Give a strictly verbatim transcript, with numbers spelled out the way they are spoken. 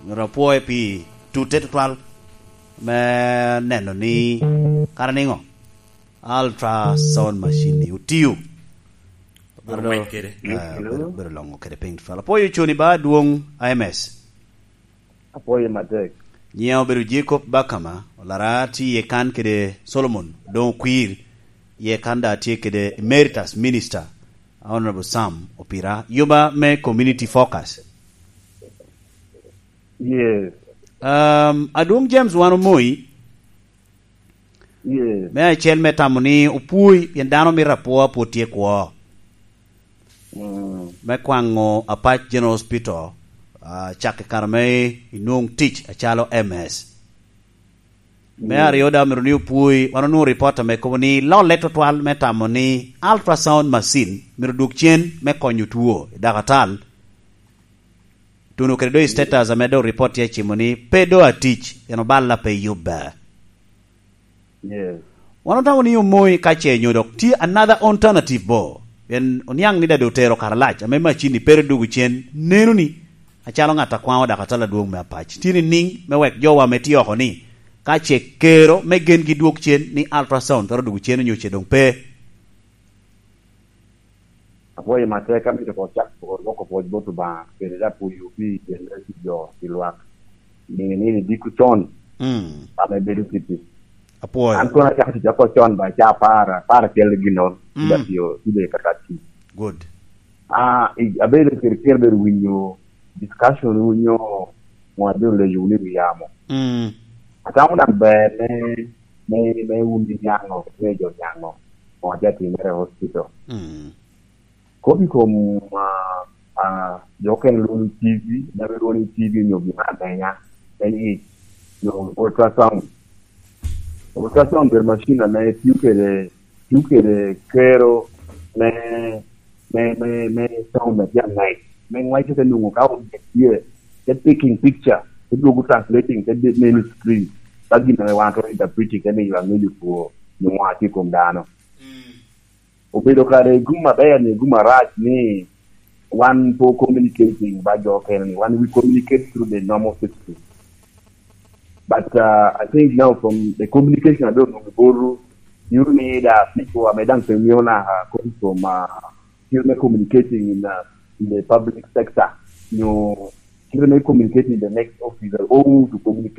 Myero apwoye pi tutte tutwal me neno ni kara niŋo ultrasound machine ni otio. Obedo, obedo loŋo kede piny tutwal. Apwoyo coni ba adwoŋ I M S. Apwoyo matek. Nyiŋa obedo Jacob Bakama, olara tye iye kan kede Solomon, doŋ okwir, iye kan da tye kede Emeritus Minister, Honorable Sam Opira, yuba me Community Focus. Yes. Um, Adwoŋ James wan omoyi. Yes. Me acel me tamo ni opwoi, pien dano mito apwoa pwod tye kwo. Mm. Me kwaŋo Apac General Hospital, ah, cak i kare me inwoŋ tic acalo M S. Me mm. Aryo daŋ myero ni opwoi, wan onwoŋo ripot ame kobo ni lolle tutwal me tamo ni ultrasound machine myero dwog cen me konyo two i dakatal. Tuno kede doŋ i status ame doŋ ripot tye acimo ni pe doŋ atic, pien oballa pe yubbe. Yes. Wan otamo ni omoi ka ce nyo dok tye another alternative bo. Pien oniaŋ ni dade otero karalac ame macini pere dwogo cen, neno ni acalo ŋat a kwaŋo dakatal adwoŋ me Apac. Tye niŋ me wek jowa me tye oko ni ka ce kero me gengi dwog cen ni ultrasound twero dwogo cen onyo ce doŋ pe. Apwoyo matek, amito ko cak ko loko pwoc bot Obaŋa, kede dok pwoyo pi tyen me jo pi lwak. Niŋe ni ni diko con, mm, ame bedo kiti. Apwoyo. An kono acako tic oko con ba ca apar, apar acel gin nono, mm, da tiyo, tye kaka tic. Good. Ah, i-, abedo kede kero bedo winyo discussion, winyo ŋo abedo leyo wunu i wi yamo. Mm. Atamo daŋ ber me, me, me wun niaŋo, me jo niaŋo, ŋo aja timere i hospital. Mm. Kop i kom, ah, ah, jo okene lwoŋo ni T V, daŋ lwoŋo ni T V onyo gin amenya, me yic, onyo ultrasound. Ultrasound bedo macin ame tio kede, tio kede kero me, me, me, me sound me tye angec. Me ngwec te nwoŋo ka onget tye, te taking picture, te dwogo translating, te de-, neno i screen. Ka gin ame wan twero interpreting, te miyo aŋeyo two, onyo ŋo a tye i kom dano. Mm. Obedo kare gum aber ni gum arac ni wan po communicating ba jo okene ni, wan we communicate through the normal system. But, uh, I think now from the communication I don't know, boru, you need a people, I mean, don't think you know, uh, come from, uh, still me communicating in, uh, in the public sector. You know, still me communicating in the next office, or who to communicate